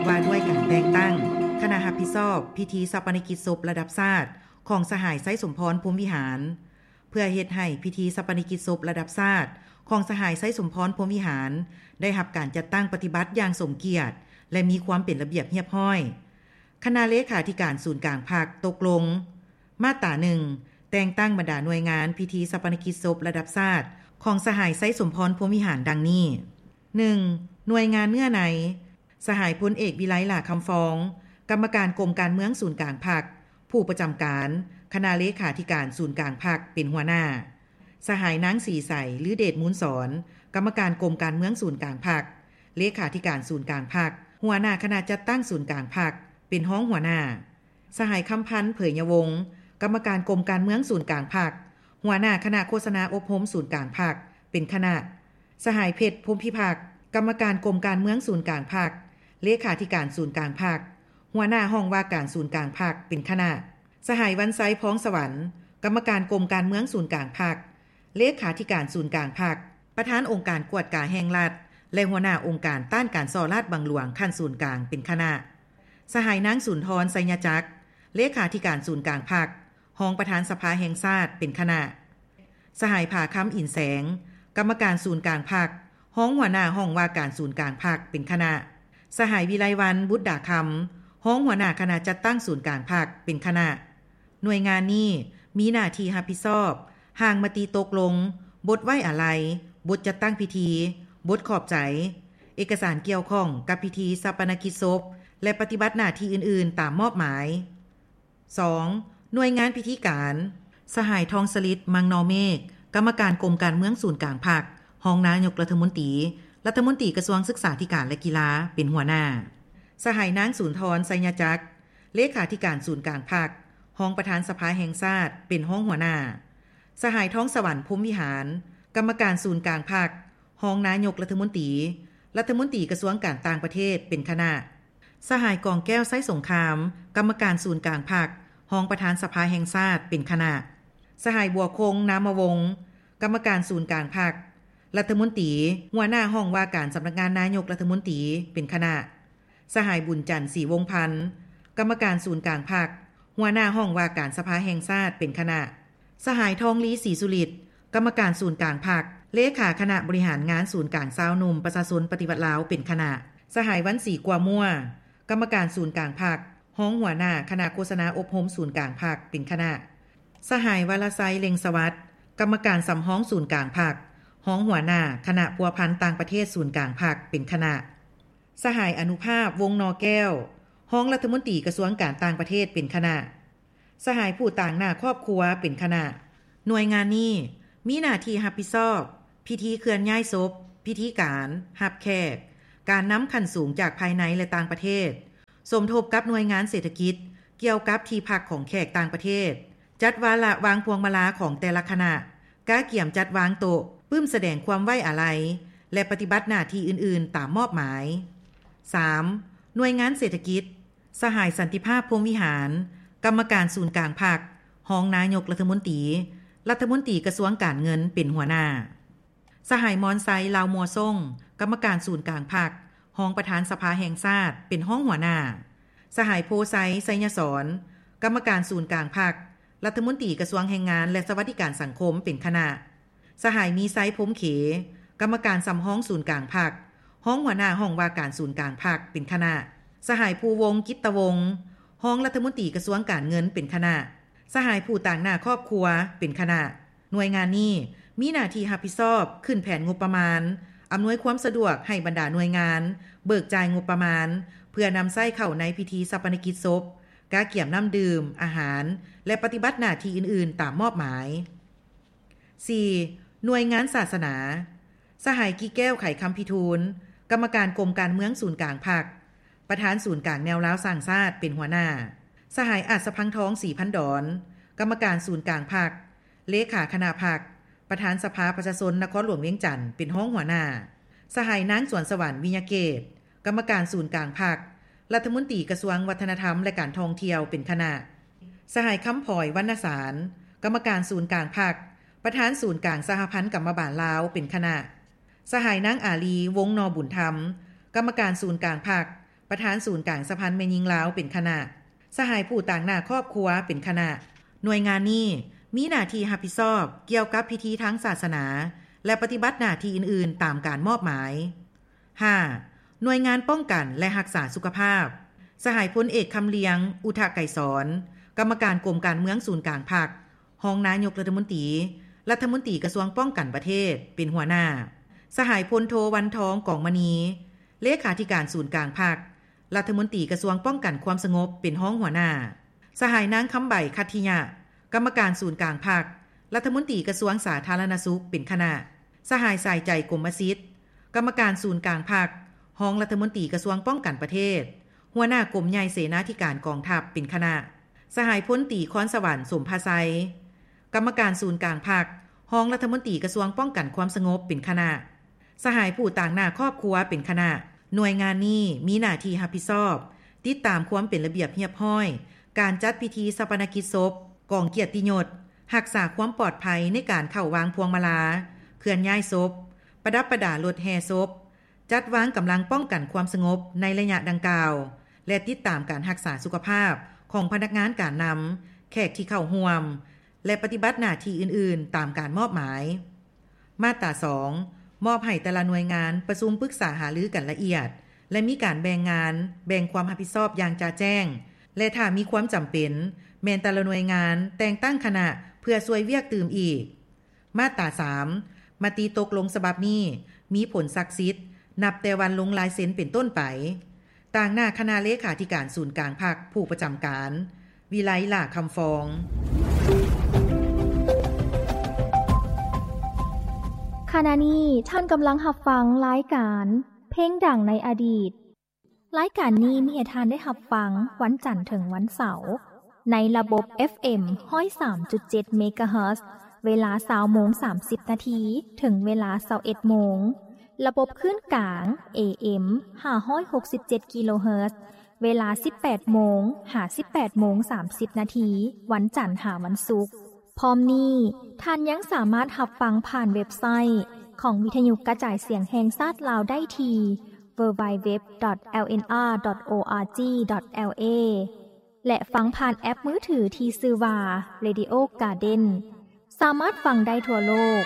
ວ່າດ້ວຍການແຕ່ງຕັ້ງຄະນະຮັບຜິດຊອບພິທີຊາປະນະກິດສົບລະດັບຊາດຂອງສະຫາຍ ໄຊສົມພອນ ພົມວິຫານ. ເພື່ອເຮັດໃຫ້ພິທີຊາປະນະກິດສົບລະດັບຊາດຂອງສະຫາຍ ໄຊສົມພອນ ພົມວິຫານ ໄດ້ຮັບການຈັດຕັ້ງປະຕິບັດຢ່າງສົມກຽດ ແລະ ມີຄວາມເປັນລະບຽບຮຽບຮ້ອຍ, ຄະນະເລຂາທິການສູນກາງພັກຕົກລົງ ມາດຕາໜຶ່ງ ແຕ່ງຕັ້ງບັນດາໜ່ວຍງານພິທີຊາປະນະກິດສົບລະດັບຊາດຂອງສະຫາຍ ໄຊສົມພອນ ພົມວິຫານ ດັ່ງນີ້: ໜຶ່ງ. ໜ່ວຍງານເນື້ອໃນ, ສະຫາຍພົນເອກ ວິໄລ ຫຼ້າຄຳຟອງ, ກຳມະການກົມການເມືອງສູນກາງພັກ, ຜູ້ປະຈຳການຄະນະເລຂາທິການສູນກາງພັກ ເປັນຫົວໜ້າ, ສະຫາຍນາງ ສີໃສ ລືເດດມູນສອນ, ກຳມະການກົມການເມືອງສູນກາງພັກ, ເລຂາທິການສູນກາງພັກ, ຫົວໜ້າຄະນະຈັດຕັ້ງສູນກາງພັກ ເປັນຮອງຫົວໜ້າ, ສະຫາຍ ຄຳພັນ ເຜີຍຍະວົງ, ກຳມະການກົມການເມືອງສູນກາງພັກ, ຫົວໜ້າຄະນະໂຄສະນາອົບຮົມສູນກາງພັກ ເປັນຄະນະ, ສະຫາຍ ເພັດ ພົມພິພັກ, ກຳມະການກົມການເມືອງສູນກາງພັກ, ເລຂາທິການສູນກາງພັກ, ຫົວໜ້າຫ້ອງວ່າການສູນກາງພັກ ເປັນຄະນະ, ສະຫາຍ ວັນໄຊ ພອງສະຫວັນ, ກຳມະການກົມການເມືອງສູນກາງພັກ, ເລຂາທິການສູນກາງພັກ, ປະທານອົງການກວດກາແຫ່ງລັດ ແລະ ຫົວໜ້າອົງການຕ້ານການສໍ້ລາດບັງຫຼວງຂັ້ນສູນກາງ ເປັນຄະນະ, ສະຫາຍ ນາງ ສຸນທອນ ໄຊຍະຈັກ, ເລຂາທິການສູນກາງພັກ, ຮອງປະທານສະພາແຫ່ງຊາດ ເປັນຄະນະ, ສະຫາຍ ຜາຄຳ ອິນແສງ, ກຳມະການສູນກາງພັກ, ຮອງຫົວໜ້າຫ້ອງວ່າການສູນກາງພັກ ເປັນຄະນະ, ສະຫາຍ ວິໄລວັນ ບຸດດາຄຳ, ຮອງຫົວໜ້າຄະນະຈັດຕັ້ງສູນກາງພັກ ເປັນຄະນະ. ໜ່ວຍງານນີ້ມີໜ້າທີ່ຮັບຜິດຊອບ ຮ່າງມະຕິຕົກລົງ, ບົດໄວ້ອາໄລ, ບົດຈັດຕັ້ງພິທີ, ບົດຂອບໃຈ, ເອກະສານກ່ຽວຂ້ອງກັບພິທີຊາປະນະກິດສົບ ແລະ ປະຕິບັດໜ້າທີ່ອື່ນໆຕາມມອບໝາຍ. ສອງ. ໜ່ວຍງານພິທີການ, ສະຫາຍ ທອງສະລິດ ມັງນໍເມກ, ກຳມະການກົມການເມືອງສູນກາງພັກ, ຮອງນາຍົກລັດຖະມົນຕີ, ລັດຖະມົນຕີກະຊວງສຶກສາທິການ ແລະ ກິລາ ເປັນຫົວໜ້າ, ສະຫາຍ ນາງ ສຸນທອນ ໄຊຍະຈັກ, ເລຂາທິການສູນກາງພັກ, ຮອງປະທານສະພາແຫ່ງຊາດ ເປັນຮອງຫົວໜ້າ, ສະຫາຍ ທອງສະຫວັນ ພົມວິຫານ, ກຳມະການສູນກາງພັກ, ຮອງນາຍົກລັດຖະມົນຕີ, ລັດຖະມົນຕີກະຊວງການຕ່າງປະເທດ ເປັນຄະນະ, ສະຫາຍ ກອງແກ້ວ ໄຊສົງຄາມ, ກຳມະການສູນກາງພັກ, ຮອງປະທານສະພາແຫ່ງຊາດ ເປັນຄະນະ, ສະຫາຍ ບົວຄົງ ນາມະວົງ, ກຳມະການສູນກາງພັກ, ລັດຖະມົນຕີ, ຫົວໜ້າຫ້ອງວ່າການສຳນັກງານນາຍົກລັດຖະມົນຕີ ເປັນຄະນະ, ສະຫາຍ ບຸນຈັນ ສີວົງພັນ, ກຳມະການສູນກາງພັກ, ຫົວໜ້າຫ້ອງວ່າການສະພາແຫ່ງຊາດ ເປັນຄະນະ, ສະຫາຍ ທອງລີ ສີສຸລິດ, ກຳມະການສູນກາງພັກ, ເລຂາຄະນະບໍລິຫານງານສູນກາງຊາວໜຸ່ມປະຊາຊົນປະຕິວັດລາວ ເປັນຄະນະ, ສະຫາຍ ວັນສີ ກົວມົວ, ກຳມະການສູນກາງພັກ, ຮອງຫົວໜ້າຄະນະໂຄສະນາອົບຮົມສູນກາງພັກ ເປັນຄະນະ, ສະຫາຍ ວາລະໄຊ ເລັງສະຫວັດ, ກຳມະການສຳຮອງສູນກາງພັກ, ຮອງຫົວໜ້າຄະນະພົວພັນຕ່າງປະເທດສູນກາງພັກ ເປັນຄະນະ, ສະຫາຍ ອະນຸພາບ ວົງນໍແກ້ວ, ຮອງລັດຖະມົນຕີກະຊວງການຕ່າງປະເທດ ເປັນຄະນະ, ສະຫາຍ ຜູ້ຕາງໜ້າຄອບຄົວ ເປັນຄະນະ. ໜ່ວຍງານນີ້ມີໜ້າທີ່ຮັບຜິດຊອບພິທີເຄື່ອນຍ້າຍສົບ, ພິທີການ, ຮັບແຂກ, ການນຳຂັ້ນສູງຈາກພາຍໃນ ແລະ ຕ່າງປະເທດ, ສົມທົບກັບໜ່ວຍງານເສດຖະກິດກ່ຽວກັບທີ່ພັກຂອງແຂກຕ່າງປະເທດ, ຈັດວາລະວາງພວງມາລາຂອງແຕ່ລະຄະນະ, ກະກຽມຈັດວາງໂຕະ, ປຶ້ມສະແດງຄວາມໄວ້ອາໄລ ແລະ ປະຕິບັດໜ້າທີ່ອື່ນໆຕາມມອບໝາຍ. ສາມ. ໜ່ວຍງານເສດຖະກິດ, ສະຫາຍ ສັນຕິພາບ ພົມວິຫານ, ກຳມະການສູນກາງພັກ, ຮອງນາຍົກລັດຖະມົນຕີ, ລັດຖະມົນຕີກະຊວງການເງິນ ເປັນຫົວໜ້າ. ສະຫາຍ ມອນໄຊ ລາວມົວຊົງ, ກຳມະການສູນກາງພັກ, ຮອງປະທານສະພາແຫ່ງຊາດ ເປັນຮອງຫົວໜ້າ. ສະຫາຍ ໂພໄຊ ໄຊຍະສອນ, ກຳມະການສູນກາງພັກ, ລັດຖະມົນຕີກະຊວງແຮງງານ ແລະ ສະຫວັດດີການສັງຄົມ ເປັນຄະນະ. ສະຫາຍ ມີໄຊ ພົມເຂ, ກຳມະການສຳຮອງສູນກາງພັກ, ຮອງຫົວໜ້າຫ້ອງວ່າການສູນກາງພັກ ເປັນຄະນະ. ສະຫາຍ ພູວົງ ກິດຕະວົງ, ຮອງລັດຖະມົນຕີກະຊວງການເງິນ ເປັນຄະນະ. ສະຫາຍ ຜູ້ຕາງໜ້າຄອບຄົວ ເປັນຄະນະ. ໜ່ວຍງານນີ້ມີໜ້າທີ່ຮັບຜິດຊອບຂຶ້ນແຜນງົບປະມານ, ອຳນວຍຄວາມສະດວກໃຫ້ບັນດາໜ່ວຍງານເບີກຈ່າຍງົບປະມານ ເພື່ອນຳໃຊ້ເຂົ້າໃນພິທີຊາປະນະກິດສົບ, ກະກຽມນ້ຳດື່ມ, ອາຫານ ແລະ ປະຕິບັດໜ້າທີ່ອື່ນໆຕາມມອບໝາຍ. ສີ່. ໜ່ວຍງານສາສະໜາ, ສະຫາຍ ກິແກ້ວ ໄຂຄຳພິທູນ, ກຳມະການກົມການເມືອງສູນກາງພັກ, ປະທານສູນກາງແນວລາວສ້າງຊາດ ເປັນຫົວໜ້າ, ສະຫາຍ ອາດສະພັງທອງ ສີພັນດອນ, ກຳມະການສູນກາງພັກ, ເລຂາຄະນະພັກ, ປະທານສະພາປະຊາຊົນນະຄອນຫຼວງວຽງຈັນ ເປັນຮອງຫົວໜ້າ, ສະຫາຍ ນາງ ສວນສະຫວັນ ວິຍະເກດ, ກຳມະການສູນກາງພັກ, ລັດຖະມົນຕີກະຊວງວັດທະນະທຳ ແລະ ການທ່ອງທ່ຽວ ເປັນຄະນະ, ສະຫາຍ ຄຳພອຍ ວັນນະສານ, ກຳມະການສູນກາງພັກ, ປະທານສູນກາງສະຫະພັນກຳມະບານລາວ ເປັນຄະນະ, ສະຫາຍ ນາງ ອາລີ ວົງນໍບຸນທຳ, ກຳມະການສູນກາງພັກ, ປະທານສູນກາງສະຫະພັນແມ່ຍິງລາວເປັນຄະນະ, ສະຫາຍຜູ້ຕາງໜ້າຄອບຄົວເປັນຄະນະ. ໜ່ວຍງານນີ້ມີໜ້າທີ່ຮັບຜິດຊອບກ່ຽວກັບພິທີທາງສາສະໜາ ແລະ ປະຕິບັດໜ້າທີ່ອື່ນໆຕາມການມອບໝາຍ. ຫ້າ. ໜ່ວຍງານປ້ອງກັນ ແລະ ຮັກສາສຸຂະພາບ, ສະຫາຍພົນເອກ ຄຳລຽງ ອຸທະໄກສອນ, ກຳມະການກົມການເມືອງສູນກາງພັກ, ຮອງນາຍົກລັດຖະມົນຕີ, ລັດຖະມົນຕີກະຊວງປ້ອງກັນປະເທດ ເປັນຫົວໜ້າ, ສະຫາຍພົນໂທ ວັນທອງ ກອງມະນີ, ເລຂາທິການສູນກາງພັກ, ລັດຖະມົນຕີກະຊວງປ້ອງກັນຄວາມສະຫງົບ ເປັນຮອງຫົວໜ້າ, ສະຫາຍນາງ ຄຳໃບ ຄັດທິຍະ, ກຳມະການສູນກາງພັກ, ລັດຖະມົນຕີກະຊວງສາທາລະນະສຸກ ເປັນຄະນະ, ສະຫາຍ ສາຍໃຈ ກົມມະສິດ, ກຳມະການສູນກາງພັກ, ຮອງລັດຖະມົນຕີກະຊວງປ້ອງກັນປະເທດ, ຫົວໜ້າກົມໃຫຍ່ເສນາທິການກອງທັບ ເປັນຄະນະ, ສະຫາຍພົນຕີ ຄອນສະຫວັນ ສົມພາໄຊ, ກຳມະການສູນກາງພັກ, ຮອງລັດຖະມົນຕີກະຊວງປ້ອງກັນຄວາມສະຫງົບ ເປັນຄະນະ, ສະຫາຍຜູ້ຕາງໜ້າຄອບຄົວ ເປັນຄະນະ. ໜ່ວຍງານນີ້ມີໜ້າທີ່ຮັບຜິດຊອບ ຕິດຕາມຄວາມເປັນລະບຽບຮຽບຮ້ອຍ ການຈັດພິທີຊາປະນະກິດສົບ, ກອງກຽດຕິຍົດ, ຮັກສາຄວາມປອດໄພໃນການເຂົ້າວາງພວງມາລາ, ເຄື່ອນຍ້າຍສົບ, ປະດັບປະດາລົດແຫ່ສົບ, ຈັດວາງກຳລັງປ້ອງກັນຄວາມສະຫງົບໃນໄລຍະດັ່ງກ່າວ ແລະ ຕິດຕາມການຮັກສາສຸຂະພາບຂອງພະນັກງານການນຳ, ແຂກທີ່ເຂົ້າຮ່ວມ ແລະ ປະຕິບັດໜ້າທີ່ອື່ນໆຕາມການມອບໝາຍ. ມາດຕາສອງ ມອບໃຫ້ແຕ່ລະໜ່ວຍງານປະຊຸມປຶກສາຫາລືກັນລະອຽດ ແລະ ມີການແບ່ງງານ, ແບ່ງຄວາມຮັບຜິດຊອບຢ່າງຈະແຈ້ງ ແລະ ຖ້າມີຄວາມຈຳເປັນ, ແມ່ນແຕ່ລະໜ່ວຍງານແຕ່ງຕັ້ງຄະນະເພື່ອຊ່ວຍວຽກຕື່ມອີກ. ມາດຕາສາມ ມະຕິຕົກລົງສະບັບນີ້ມີຜົນສັກສິດນັບແຕ່ວັນລົງລາຍເຊັນເປັນຕົ້ນໄປ. ຕາງໜ້າຄະນະເລຂາທິການສູນກາງພັກ ຜູ້ປະຈຳການ ວິໄລ ຫຼ້າຄຳຟອງ. ຂະນະນີ້ທ່ານກຳລັງຮັບຟັງລາຍການເພງດັງໃນອະດີດ. ລາຍການນີ້ມີໃຫ້ທ່ານໄດ້ຮັບຟັງວັນຈັນເຖິງວັນເສົາ ໃນລະບົບ ເອັຟເອັມ ຮ້ອຍສາມຈຸດເຈັດ ເມກາເຮີດ ເວລາ ຊາວໂມງ ສາມສິບນາທີ ເຖິງເວລາ ຊາວເອັດໂມງ, ລະບົບຄື້ນກາງ ເອເອັມ ຫ້າຮ້ອຍຫົກສິບເຈັດ ກິໂລເຮີດ ເວລາ ສິບແປດໂມງ ຫາ ສິບແປດໂມງ ສາມສິບນາທີ ວັນຈັນ ຫາ ວັນສຸກ. ພ້ອມນີ້, ທ່ານຍັງສາມາດຮັບຟັງຜ່ານເວັບໄຊຂອງວິທະຍຸກະຈາຍສຽງແຫ່ງຊາດລາວໄດ້ທີ່ ดับเบิลยู ดับเบิลยู ดับเบิลยู ດອດ ແອລ ເອັນ ອາ ດອດ ໂອ ອາ ຈີ ດອດ ແອລ ເອ ແລະ ຟັງຜ່ານແອັບມືຖືທີ່ຊື່ວ່າ Radio Garden. ສາມາດຟັງໄດ້ທົ່ວໂລກ